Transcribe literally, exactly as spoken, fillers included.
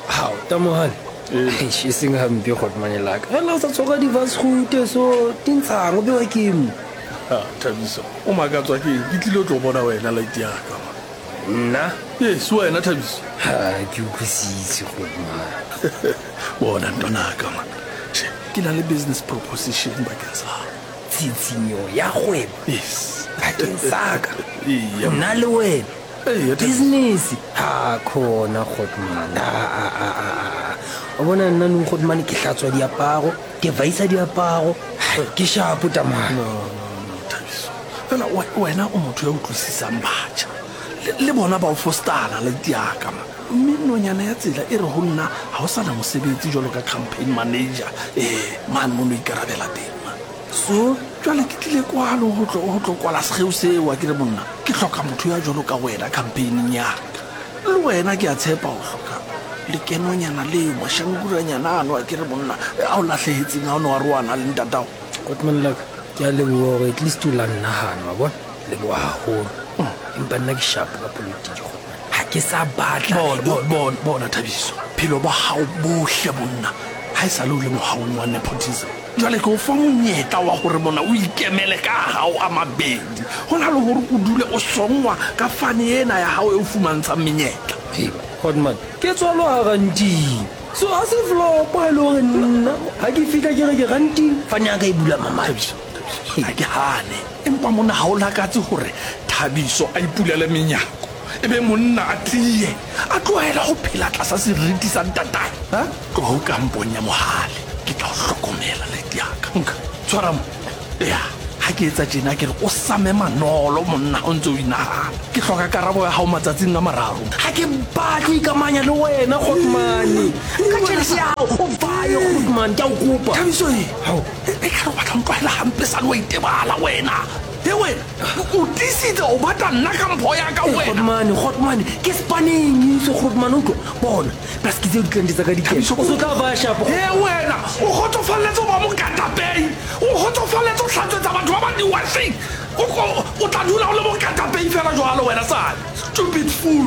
Hao, tamohane. Eish, e seng hampe kgotmane laka. Fela o sa tshwara di-vasgute so di ntshang o bewa ke mo. Ah, Thabiso, o makatswa ke eng? Ke tlile ho tlo bona wena light ya ka. Man. Nna? Yes, wena Thabiso. Ha, ke utlwisise kgotmane. Bona ntwanaka man. Che, ke na le business proposition bakeng sa hao. Tshitshinyo ya kgwebo Yes. bakeng sa ka. Eya. Nna le wena. Eya, Thabiso. Business. Ha khona kgotmane. A a a a a. O bona nna nou kgotmane ke hlatswa diaparo, ke vaisa diaparo, ke shapo tamane. No, no, no, Thabiso. Fela we- wena o motho ya utlwisisang batjha. Le, le bona ba o fostana light ya ka man. Mme nonyana ya tsela e re ho nna ha o sana mosebetsi jwalo ka campaign manager eh mane mo no ikarabela teng man. So, Jwale ke tlile kwano ho tlo ho tlo kwala sekgeo seo a ke re monna ke hloka motho ya jwalo ka wena campaigning ya ka. Le wena ke a tshepa o hloka lekenonyana leo mashankuranyana ano a ke re monna a o lahlehetseng ha o ne wa roana le ntatao. Kgotmane laka, ke a leboha hore at least o la nnahana wa bona. Leboha haholo. Empa nna ke shapo ka politiki kgotmane. Ha ke sa batla. Bona, bona, bona, bona Thabiso. Phelo ba hao bohle monna ha e sale o le mohaong wa nepotism. Jwale ke o fa monyetla wa hore mona o ikemele ka hao a mabedi. Ho na le hore o dule o songwa ka fane ena ya hao e o fumantshang menyetla. Hei, Kgotmane, ke tswalwa ha ranting. So ha se flop ha e le hore nna ha ke fihla ke re ke ranting, fane ya ka e bula mamati. Thabiso, Thabiso, ha ke hane. Empa monna ha o lakatse hore Thabiso a ipulele menyako. E be monna a tiye, a tlohele ho phela tlasa seriti sa ntatae. Ha? Tloha o kampong ya Mohale. Ke tla o hlokomela lady ya ka. Nka, tshwara mo. Ya, ha ke etsa tjena ke re o same manolo monna ha o ntse o inahana. Ke hloka karabo ya hao matsatsing a mararo. Ha ke batle ho ikamanya le wena Kgotmane. Nka tjhelete ya hao, o baye Kgotmane, ke a o kopa. Thabiso e. Hao. E ka re o batla ho ntlwaela hampe sale wa itebala wena. He wena, o tiisitse o batla nna ka mpho ya ka wena. Kgotmane, Kgotmane, ke spaneng se Kgotmane o tlo bona. Plus ke tseo di-client tsa ka di kena. Thabiso, O so tla ba shapo. He wena, o kgotsofalletse ho ba mokatapei. O kgotsofalletse ho hlatswetsa batho ba bang diwasheng. O o tla dula o le mokatapei fela jwalo wena sale. Stupid fool.